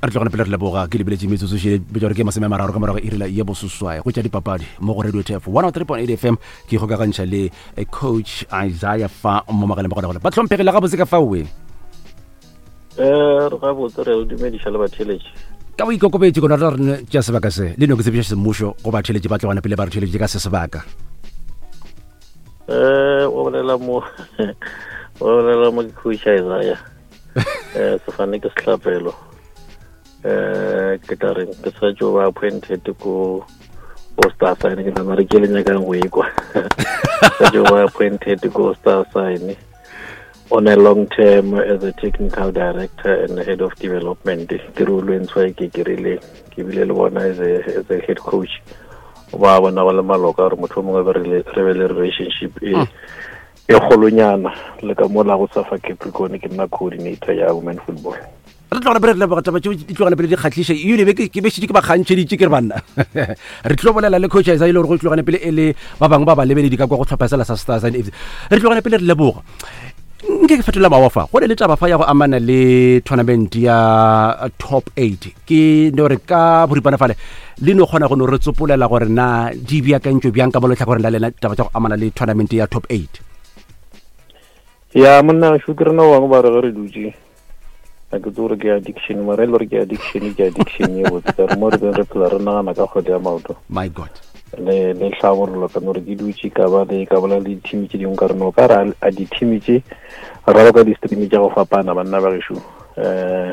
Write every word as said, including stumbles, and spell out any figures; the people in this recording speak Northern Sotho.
Re tlogane pele re leboga. Ke lebeletše metsotso še betša gore ke masome a mararo ka morago iri la ye bososwae go tša dipapadi mo go Radio T F one oh three point eight F M. Ke kgokagantšha le eh, Coach Isaiah fa mo magaleng ba gona gore ba tlhomphegile gabotse ka faoe. um re gabotse, re o dumediša le batheletši. Ka boikokobetše kona re re tša sebaka se le no ke tsebiša semmušo go batheletši ba tlogane pele ba re theletše ka se sebaka. um o bolela mo o bolela mo ke Coach Isaiah, um sefane ke sehlapelo. um ke tla reng, ke sa tšo ba appointed ko ko Star Sign. Ke nana re ke le nyakang go ekwa, sa tšo ba appointed ko Star Sign on a long term as a technical director and head of development. Ke re o lwentshwa ke ke rile ke bile le bona as a, as a head coach, ba bona ba le maloka gore motho o mongwe be re le- re be le relationship e e kgolonyana le ka mola go Safa Capricorn, ke nna coordinator ya women football. Re tlogane pele re leboga. Taba tšeo di tlogane pele di kgatlhiša ebile be ke ke be šetše ke ba kgantšheditše ke re banna re tlo bolela le Coach Isaiah e le gore go tlogane pele e le ba bangwe ba balebeledi ka kwa go tlhopha sela sa Star Sign F C. Re tlogane pele re leboga. Nke ke fetola mawa fa go ne le taba fa ya go amana le tournament ya Top eight. Ke no re ka boripana fale le no kgona go no re tsopolela gore na di beakantšwe bjang ka mo letlhakoreng la lena, taba tša go amana le tournament ya Top eight. Ya monna šo, ke rena bangwe ba re ge re dutše a ke tse gore ke addiction, mara e le gore ke addiction, ke addiction e botse ka re mo re beng re phela re nagana ka kgwele ya maoto My God. le le tlhabololo. Ka no re ke dutše ka ba le ka bola le di-team tše dingwe, ka re no ka re a di-team tše raloka di-stream tša go fapana, banna ba gešo, um